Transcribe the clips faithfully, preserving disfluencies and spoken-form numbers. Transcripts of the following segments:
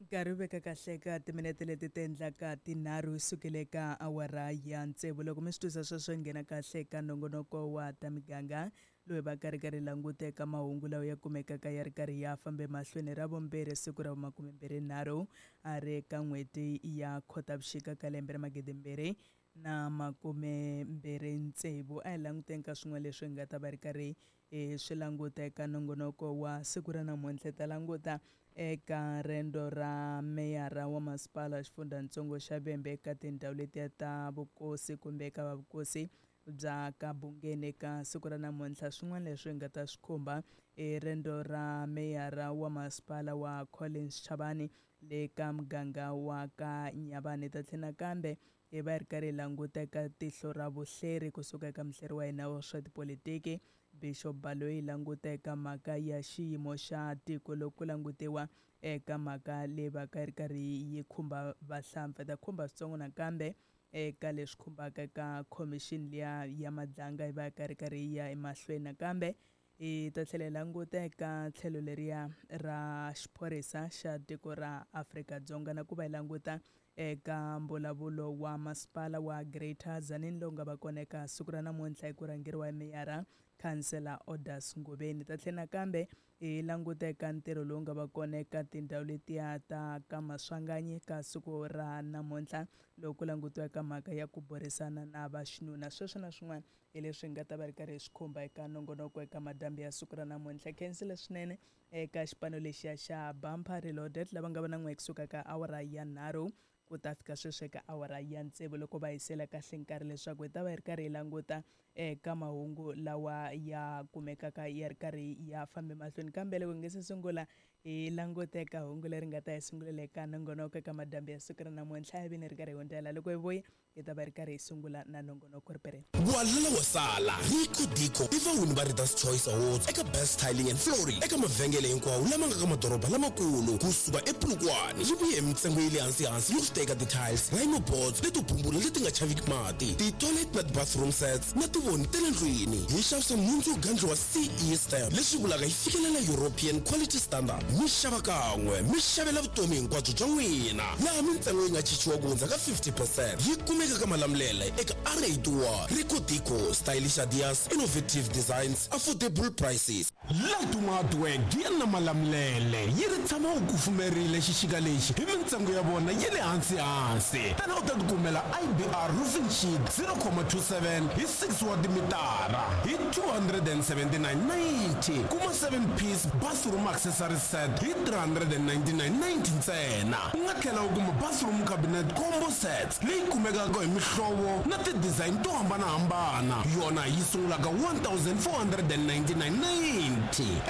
Nkarhi wu veka kahle ka timinete leti ti endlaka tinharhu hi sukile ka awara ya tsevu. Loko mi swi twisa sweswo hi nghena kahle ka nongonoko wa ta miganga loyi va karhi karhi languta eka mahungu lawa ya kumekaka ya ri karhi ya fambe mahlweni. Ra vumbirhi siku ra vumakumembirhi nharhu a ri ka n'hweti ya Khotavuxika ka lembe ra magidi mbirhi na makume mbirhi tsevu. A hi languteni ka swin'wana leswi hi nga ta va ri karhi hi swi languta eka nongonoko wa siku ra namuntlha. Hi ta languta eka rendzo ra meyara wa masipala xifundzatsongo xa Vhembe eka tindhawu letiya ta vukosi kumbe eka va vukosi bya ka Bungeni eka siku ra namuntlha. Swin'wana leswi hi nga ta swi khumba i rendzo ra meyara wa masipala wa Collins Chabane le ka muganga wa ka Nyabane. Hi ta tlhela nakambe hi va hi ri karhi hi languta eka tihlo ra vuhleri kusuka eka muhleri wa hina wa swa tipolitiki Bishop Baloyi, languta eka mhaka ya xiyimo xa tiko loko ku langutiwa eka mhaka leyi va ka yi ri karhi yi khumba vahlampfa. Ta khumba switsongo nakambe eka leswi khumbaka ka khomixini liya ya Madlanga yi va ka ri karhi yi ya emahlweni. Nakambe hi ta tlhela hi languta eka tlhelo leriya ra xiphorisa xa tiko ra Afrika-Dzonga na ku va hi languta eka mbulavulo wa masipala wa Greater Tzaneen lowu nga va kona eka siku ra namuntlha hi ku rhangeriwa hi meyara Councillor Odas Ngobeni. Ta tlhela nakambe hi languta eka ntirho lowu nga va kona eka tindhawu letiya ta ka Maswanganyi ka siku ra namuntlha loko ku langutiwa eka mhaka ya ku burisana na vaxinuna. Sweswo na swin'wana hi leswi hi nga ta va ri karhi hi swi khumba eka nongonoko eka madyambu ya siku ra namuntlha. Khensile swinene eka xipano lexiya xa Bumper Reloaded lava nga va na n'we kusuka ka awara ya nharhu ku ta fika sweswi eka awara ya tsevu loko va hisela kahle nkarhi leswaku hi ta va hi ri karhi hi languta eka mahungu lawa ya kumekaka ya ri karhi ya fambe mahlweni. Kambe loko hi nge se sungula hi languta eka hungu leri nga ta hi sungulela eka nongonoko eka madyambu ya siku ra namuntlha, hi vini ri karhi hi hundzela. Loko hi vuya hi ta va ri karhi hi sungula na nongonoko ri pereni. Walala wa sala Rico Dico i vawini va Readers Choice Awards eka Best Tiling and Flooring eka mavhengele hinkwawo lama nga ka madoroba lamakulu kusuka ePolokwane. Yi vuye hi mintsengo ya le hansi hansi yo swi teka ti-tiles, rhino boards leto bumbula leti nga chaviki mati, ti-toilet na ti-bathroom sets na tivoni ta le ndlwini. Hi xavisa nhundzu yo gandliwa C E stamp leswi vulaka yi fikelela European quality standard. Mi xava kan'we mi xavela vutomi hinkwabyo bya n'wina, laha mintsengo yi nga cinciwa ku hundza ka fifty percent. Yi kumeka ka Malamulele eka R eighty-one. Rico Dico, stylish ideas, innovative designs, affordable prices. Laduma Hardware ya na Malamulele yi ri tshama u kufumerile xixika lexi hi mintsengo ya vona ya le hansi hansi. Tana u ta tikumela I B R roofing sheet zero comma two seven hi six wa timitara hi two hundred and seventy-nine ninety. Kuma seven piece bathroom accessory set hi three hundred and ninety-nine ninety ntsena. U nga tlhela u kuma bathroom cabinet combo sets leyi kumekaka hi mihlovo na ti-design to hambanahambana. Yona yi sungulaka one thousand four hundred and ninety-nine ninety.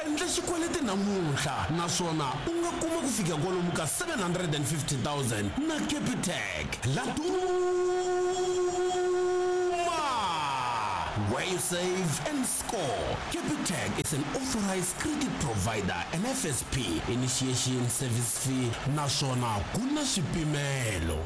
Endla xikweleti namuntlha naswona u nga kuma ku fika kwalomu ka seven hundred and fifty thousand na Capitec. Laduma, where you save and score. Capitec is an authorized credit provider and F S P initiation service fee naswona ku na swipimelo.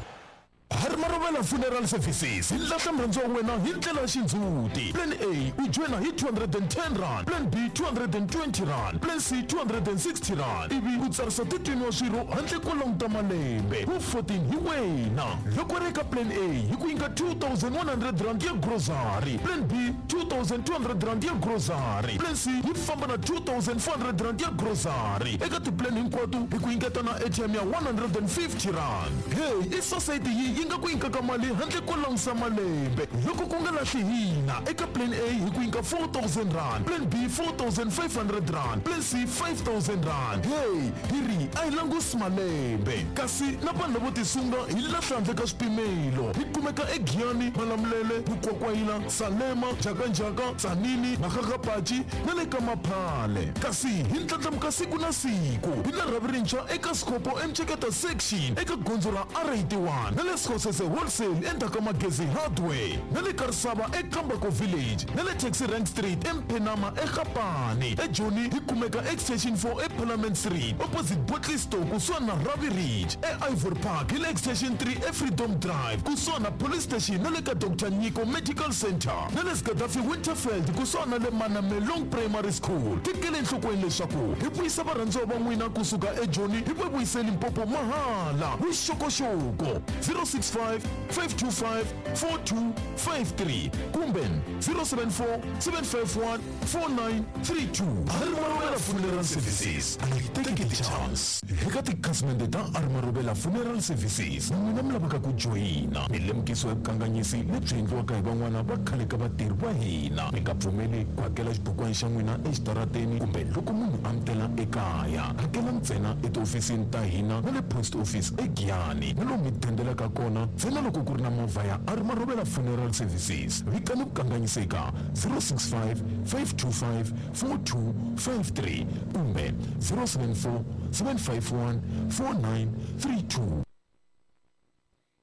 Harmarovela Funeral Services hi lahla murhandzi wa wena hi ndlela ya xindzhuti. Plan A u joyina hi two hundred and ten rand, Plan B two hundred and twenty rand, Plan C two hundred and sixty rand. Ivi u tsarisa thirteen wa swirho handle ko languta malembe. Wu fourteen hi wena. Loko ri eka Plan A hi ku nyika two thousand one hundred rand ya grocery, Plan B two thousand two hundred rand ya grocery, Plan C yi famba na two thousand four hundred rand ya grocery. Eka ti-plan hinkwato hi ku nyiketa na A T M ya one hundred and fifty rand. Hey, i society yi yi nga ku nyikaka mali handle ko langusa malembe. Loko ku nga lahli hina eka Plan A hi ku nyika four thousand rand, Plan B four thousand five hundred rand, Plan C five thousand rand. Hey, hi ri a hi langusi malembe. Kasi na vanhu lavo tisunga hi lahla handle ka swipimelo. Hi kumeka eGiyani, Malamulele, Mukwakwayila, Salema, Jakanjaka, Tzaneen, Makgakgapatši na le ka Maphale. Kasi hi ndlandlamuka siku na siku. Hi na rhavi rintshwa eka Scopo Mcheketa section eka gondzo ra R eighty-one na le Escosese Wholesale endzhaku ka Magezi Hardware na le ka Risava eKambako Village na le Taxi Rank Street eMphenama eGapane. eJoni hi kumeka Extension four eParliament Street opposite Botley Store kusuhani na Ravi Ridge. E-Ivory Park hi le Extension three eFreedom Drive kusuhani na Police Station na le ka Doctor Nyiko Medical Center na le Gaddafi Winterfeld kusuhani na le Manamelong Primary School. Tekele enhlokweni leswaku hi vuyisa varhandziwa va n'wina kusuka eJoni hi va vuyise Limpopo mahala. Vuxokoxoko zero six five, five two five, four two five three kumbe zero seven four, seven five one, four nine three two. Arimarobela Funeral Services a yi teki ti-chance. Eka tikhasimende ta Arimarobela Funeral Services n'wina mi lavaka ku joyina milemukiso ya vukanganyisi lebyi endliwaka hi van'wana va khale ka vatirhi va hina. Mi nga pfumeli ku hakela xibukwana xa n'wina exitarateni kumbe loko munhu a mi tela ekaya. Hakela ntsena etihofisini ta hina na le post office eGiyani na lomu mi dendelaka kona ntsena loko ku ri na movha ya Arimarobela Funeral Services. Vikani vukanganyisi eka zero six five, five two five, four two five three kumbe zero seven four, seven five one, four nine three two.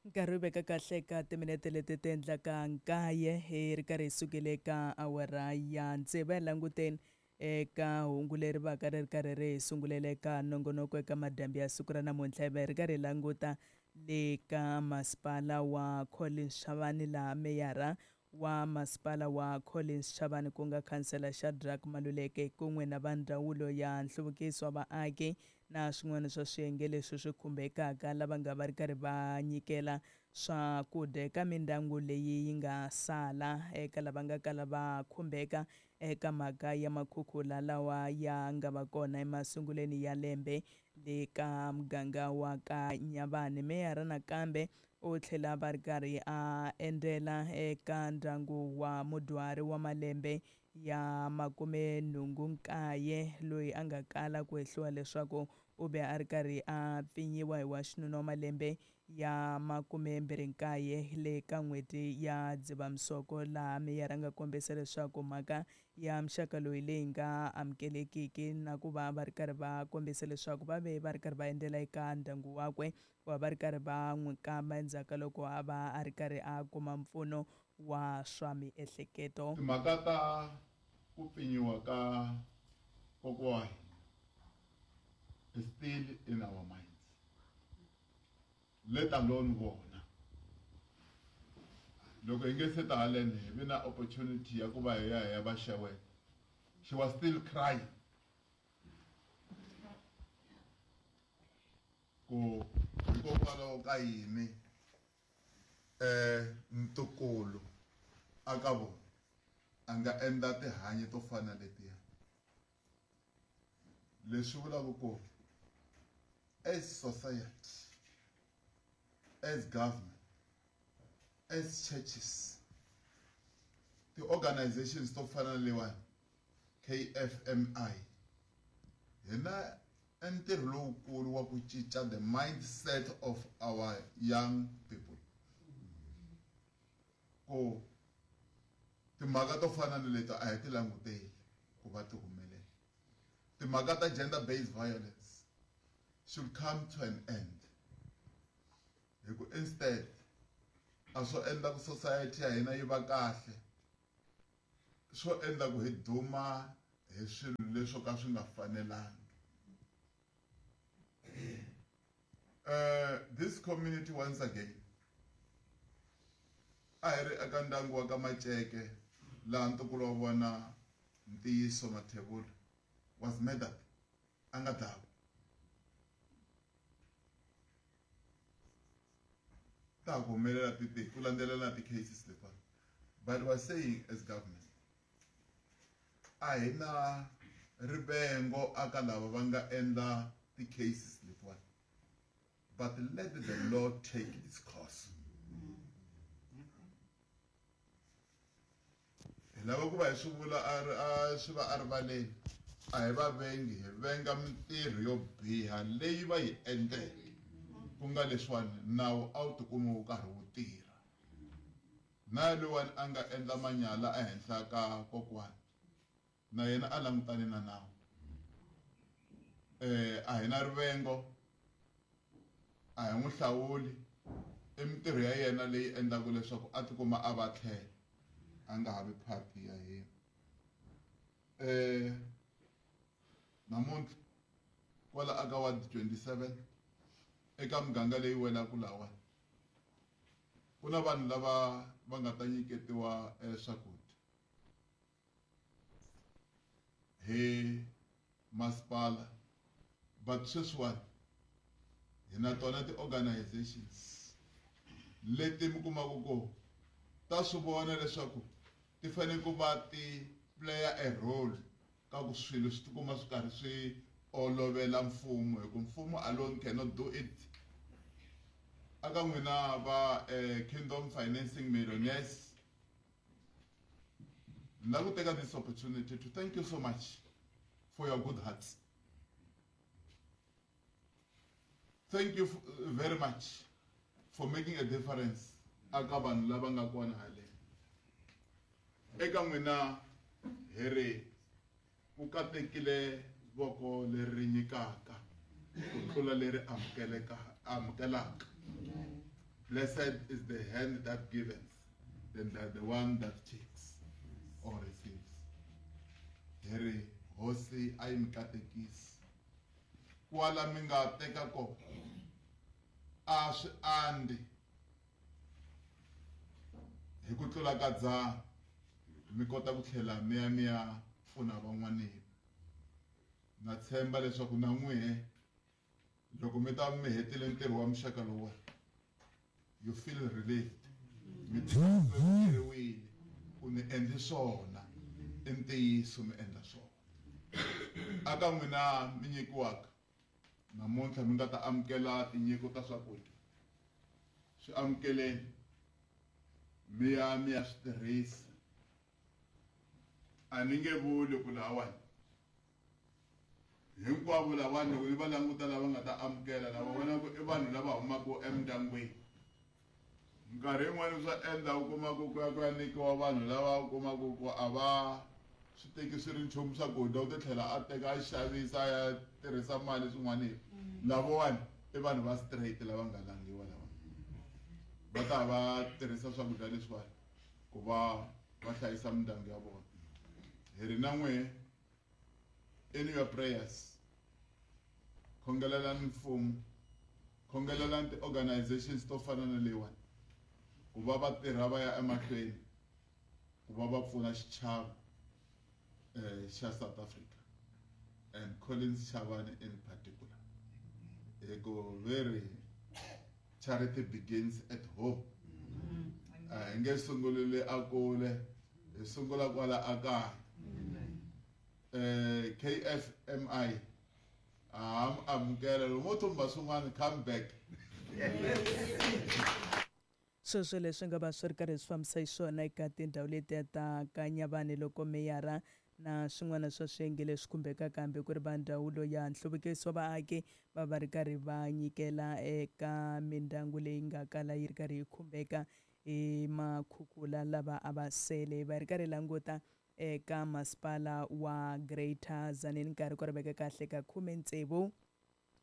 Nkarhi wu veka kahle ka timinete leti ti endlaka nkaye hi ri karhi hi sukile ka awara ya tsevu. Hi languteni eka hungu leri vaka ri ri karhi ri hi sungulela eka nongonoko eka madyambu ya siku ra namuntlha. Hi va hi ri karhi hi languta le ka masipala wa Collins Chabane laha meyara wa masipala wa Collins Chabane ku nga khansela Shadrack Maluleke kun'we na va ndzawulo ya nhluvukiso wa vaaki na swin'wana swa swiyenge leswi swi khumbekaka lava nga va ri karhi va nyikela swakudya eka mindyangu leyi yi nga sala eka lava nga kala va khumbeka eka mhaka ya makhukhula lawa ya nga va kona emasungulweni ya lembe le ka muganga wa ka Nyabane. Meyara nakambe u tlhela va ri karhi a endzela eka ndyangu wa mudyuhari wa malembe ya makume nhungu nkaye loyi a nga kala ku hehliwa leswaku u ve a ri karhi a pfinyiwa hi wa xinuna wa malembe ya makume mbirhi nkaye le ka n'hweti ya Dzivamisoko, laha meyara nga kombisa leswaku mhaka ya muxaka loyi leyi nga amukelekiki na ku va va ri karhi va kombisa leswaku va ve va ri karhi va endzela eka ndyangu wakwe ku va va ri karhi va n'wi kamba endzhaku ka loko a va a ri karhi a kuma mpfuno wa swa miehleketo. Timhaka ta ku pfinyiwa ka kokwa wa hina is still in our minds, let alone vona. Loko hi nge se ta haleni hi vi na opportunity ya ku va hi ya hi ya va xeweta. She was still crying ku hikokwalaho ka yini eh ntukulu a ka vona a nga endla tihanyi to fana letiya. Leswi vulaka ku as society, as government, as churches, the organizations to fana lewa K F M I, hina ntirho lowukulu wa ku cinca the mindset of our young people. Ku timhaka to fana na leti a hi ti languteli ku va ti humelela. Timhaka ta gender based violence should come to an end. Hi ku instead a swo endla ku society ya hina yi va kahle, swo endla ku hi duma hi swilo leswo ka swi nga fanelangi. Uh, this community once again a hi ri eka ndyangu wa ka Maceke laha ntukulu wa vona Ntiyiso Mathebula was murdered, a nga dlawa. Ta ku humelela ti ti ku landzelela ti-cases letiwani. But we're saying as government a hi na rivengo aka lava va nga endla ti-cases letiwani, but let the law take its course. Hi lava ku va hi swi vula a ri a swi va erivaleni, a hi va vengi, hi venga mintirho yo biha leyi va yi endleke, ku nga leswiwani nawu a wu tikumi wu karhi wu tirha. Na loyiwani a nga endla manyala ehenhla ka kokwani na yena a langutane na nawu. Eh a hi na rivengo, a hi n'wi hlawuli, I mintirho ya yena leyi endlaka leswaku a tikuma a va tlhela a nga ha vi part ya hina. Eh namuntlha kwala aka ward twenty-seven eka muganga leyi welaka lawa ku na vanhu lava va nga ta nyiketiwa swakudya hi masipala, but sweswiwani hi na tona ti-organizations leti mi kumaka ku ta swi vona leswaku ti fanele ku va ti play a role ka ku swilo swi tikuma swi karhi swi olovela mfumo, hi ku mfumo alone cannot do it. Aka n'wina va Kingdom Financing Millionaires, ni lava ku teka this opportunity to thank you so much for your good hearts. Thank you very much for making a difference aka vanhu lava nga kona haleni. Eka n'wina hi ri ku katekile voko leri nyikaka ku tlula leri amukeleka amukelaka. Blessed is the hand that giveth than the, the one that takes or receives. Hi ri hosi a yi mi katekisi kwala mi nga teka kona a swi andzi hi ku tlula ka dzana, mi kota ku tlhela mi ya mi ya pfuna van'wanini. Na tshemba leswaku na n'wihe loko mi ta mi hetile ntirho wa muxaka lowuwani, you feel relieved, mi titwile ku ni endli swona, i ntiyiso mi endla swona. Aka n'wina mi nyikiwaka namuntlha mi nga ta amukela tinyiko ta swakudya, swi amukeleni mi ya mi ya swi tirhisa. A ni nge vuli ku lawani hinkwavo lavani loko ni va languta lava nga ta amukela lava vonaka i vanhu lava humaka emindyangwini. Minkarhi yin'wani swa endla u kuma ku ku ya ku ya nyikiwa vanhu lava u kumaka ku a va swi teki swi ri nchumu swakudya, u ti tlhela a teka a xavisa a ya tirhisa mali swin'wanini. Lavawani i vanhu va straight lava nga langiwa lava va ta va tirhisa swakudya leswiwani ku va va hlayisa mindyangu ya vona. Hi ri na n'wehe in your prayers, khongelelani mfumo, khongelelani ti-organizations to fana na leyiwani ku va va tirha va ya emahlweni ku va va pfuna xichava eh xa South Africa and Collins Chabane in particular. Hi ku very charity begins at home. A hi nge sungulile a kule, hi sungula kwala a kaya. Eh K F M I a amukela loko mo thumba swin'wana, come back. Sweswo leswi nga va swi ri karhi swi fambisa xiswona eka tindhawu letiya ta Kanyavani loko meyara na swin'wana swa swiyenge leswi khumbekaka hambi ku ri va ndzawulo ya nhluvukiso wa vaaki va va ri karhi va nyikela eka mindyangu leyi nga kala yi ri karhi yi khumbeka hi makhukhula lava a va sele. Va ri karhi languta eka masipala wa Greater Tzaneen nkarhi ku ri veka kahle ka khume tsevu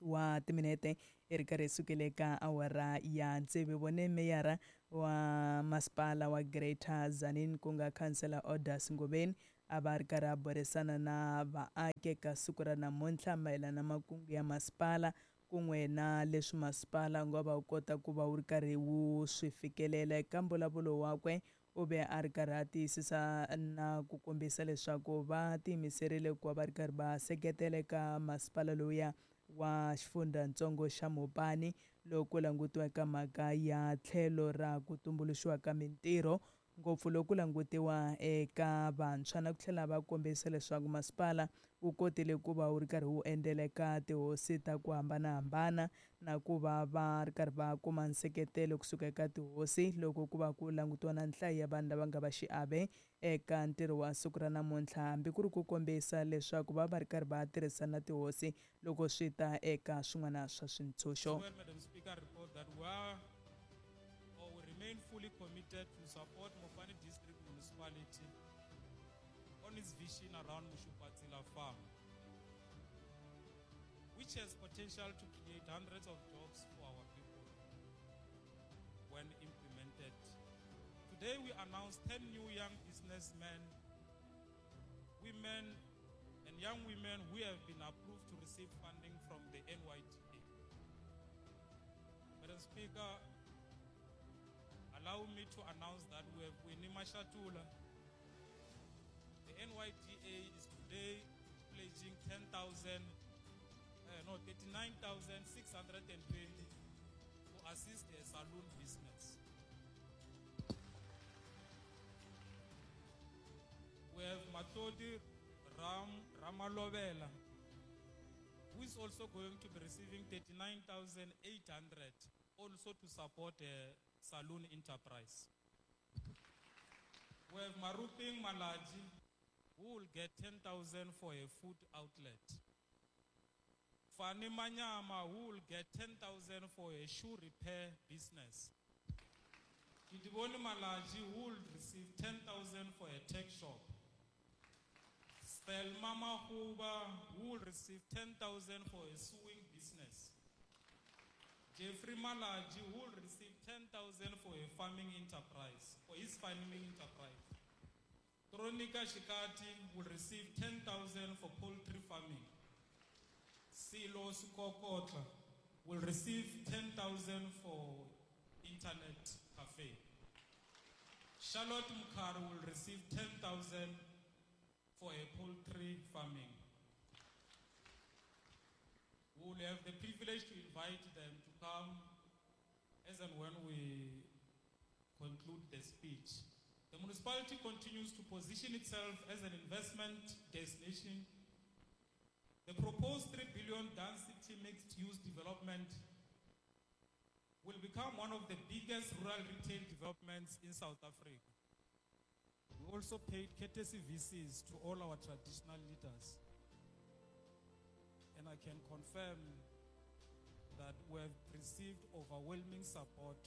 wa timinete i ri karhi sukele ka awara ya tsevu. Vone meyara wa masipala wa Greater Tzaneen ku nga Councillor Orders Ngobeni a va ri karhi a burisana na vaaki eka siku ra namuntlha mayelana na makungu ya masipala kun'we na leswi masipala wu nga va wu kota ku va wu ri karhi wu swi fikelela. Eka mbulavulo wakwe u ve a ri karhi a tiyisisa na ku kombisa leswaku va tiyimiserile ku va va ri karhi va seketela eka masipala lowuya wa xifundzatsongo xa Mopani loko langutiwa eka mhaka ya tlhelo ra ku tumbuluxiwa ka mintirho, ngopfu loko langutiwa eka vantshwa, na ku tlhela va kombisa leswaku masipala wu kotile ku va wu ri karhi wu endlela eka tihosi ta ku hambanahambana na ku va va ri karhi va kuma nseketelo kusuka eka tihosi loko ku va ku langutiwa na nhlayo ya vanhu lava nga va xiave eka ntirho wa siku ra namuntlha, hambi ku ri ku kombisa leswaku va va ri karhi va tirhisana na tihosi loko swi ta eka swin'wana swa swintshunxo. Madam Speaker, report that we are or we remain fully committed to support Mopani District Municipality on its vision around Mushupatsila Farm, which has potential to create hundreds of jobs for our people. Today we announced ten new young businessmen, women, and young women who have been approved to receive funding from the N Y D A. Madam Speaker, allow me to announce that we have Winnie Mashatula. The N Y D A is today pledging ten thousand, uh, no, thirty-nine thousand six hundred and twenty to assist the saloon business. We have Matodi Ram, Ramalovela, who is also going to be receiving thirty-nine thousand eight hundred, also to support a saloon enterprise. We have Maruping Malaji, who will get ten thousand for a food outlet. Fani Manyama, who will get ten thousand for a shoe repair business. Kidiboni Malaji, who will receive ten thousand for a tech shop. Selma Mahuba, who will receive ten thousand for a sewing business. Jeffrey Malaji, who will receive ten thousand for a farming enterprise, for his farming enterprise. Tronika Shikati will receive ten thousand for poultry farming. Silo Sukokotla will receive ten thousand for internet cafe. Charlotte Mukharu will receive ten thousand for a poultry farming. We will have the privilege to invite them to come as and when we conclude the speech. The municipality continues to position itself as an investment destination. The proposed three billion Dan City mixed-use development will become one of the biggest rural retail developments in South Africa. We also paid courtesy visits to all our traditional leaders. And I can confirm that we have received overwhelming support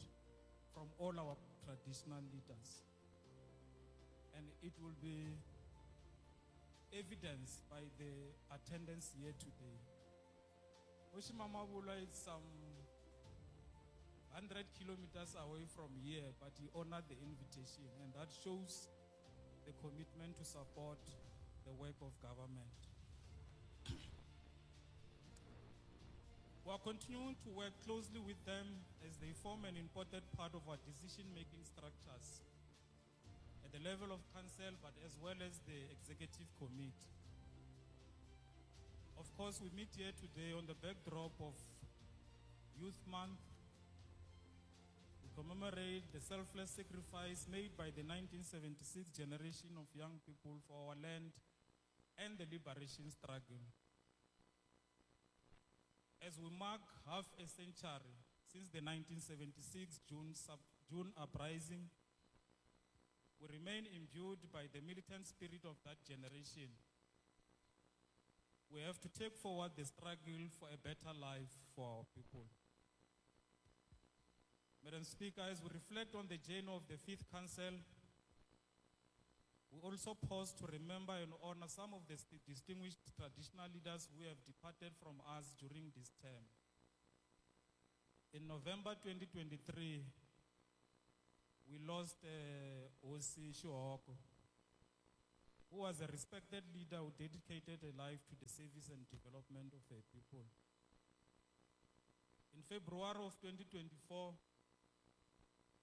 from all our traditional leaders. And it will be evidenced by the attendance here today. Oshimamabula is some hundred kilometers away from here, but he honored the invitation, and that shows the commitment to support the work of government. We are continuing to work closely with them as they form an important part of our decision-making structures at the level of council, but as well as the executive committee. Of course, we meet here today on the backdrop of Youth Month. We commemorate the selfless sacrifice made by the nineteen seventy-six generation of young people for our land and the liberation struggle. As we mark half a century since the nineteen seventy-six June, sub-, June uprising, we remain imbued by the militant spirit of that generation. We have to take forward the struggle for a better life for our people. Madam Speaker, as we reflect on the journey of the Fifth Council, we also pause to remember and honor some of the st- distinguished traditional leaders who have departed from us during this term. In November twenty twenty-three, we lost, uh, Osi Shuoko, who was a respected leader who dedicated a life to the service and development of her people. In February of twenty twenty-four,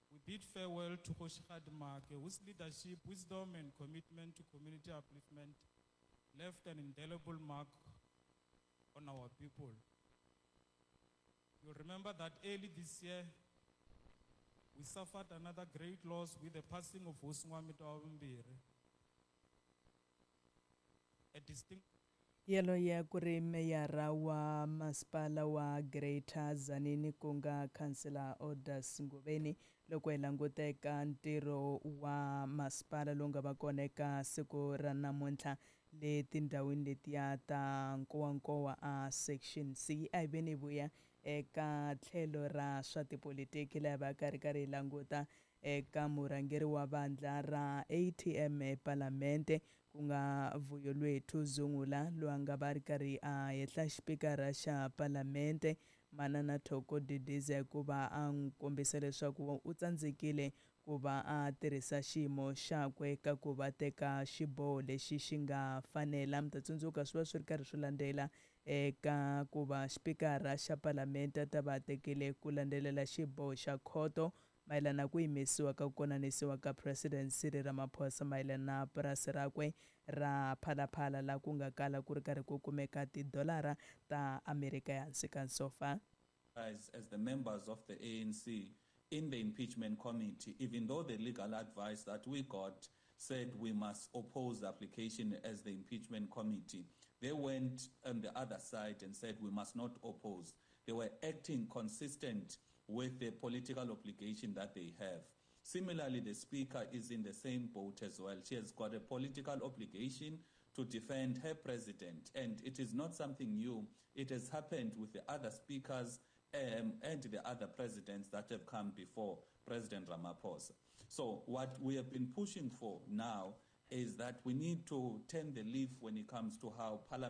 we bid farewell to Kgoshigadi Maake, whose leadership, wisdom, and commitment to community upliftment left an indelible mark on our people. You'll remember that early this year, we suffered another great loss with the passing of Hosingwamito Abumbiri, a distinct Yaloye ku ri meyara wa masipala wa Greater Tzaneen ku nga Councillor Odas Ngobeni loko hi languta eka ntirho wa masipala lowu nga va kona eka siku ra namuntlha le tindhawini letiya ta Nkowankowa a Section C. A hi veni hi vuya eka tlhelo ra swa tipolitiki laha va karhi karhi hi languta eka murhangeri wa vandla ra A T M ePalamente ku nga Vuyolwethu Zungula loyi a nga va ri karhi a hehla xipikara xa Palamente Manana Thoko Didiza hikuva a n'wi kombisa leswaku u tsandzekile ku va a tirhisa xiyimo xakwe ka ku va teka xiboho lexi xi nga fanela. Mi ta tsundzuka swi va swi ri karhi swi landzela eka ku va xipikara xa palamende a ta va tekile ku landzelela xiboho xa khoto mayelana na ku yimisiwa ka ku konanisiwa ka President Cyril Ramaphosa mayelana na purasi rakwe ra Phalaphala laha ku nga kala ku ri karhi ku kumeka tidolara ta Amerika ehansi ka nsofa. As, as the members of the A N C in the impeachment committee, even though the legal advice that we got said we must oppose the application as the impeachment committee, they went on the other side and said we must not oppose. They were acting consistent with the political obligation that they have. Similarly, the Speaker is in the same boat as well. She has got a political obligation to defend her president, and it is not something new. It has happened with the other speakers, um, and the other presidents that have come before President Ramaphosa. So what we have been pushing for now is that we need to turn the leaf when it comes to how Parliament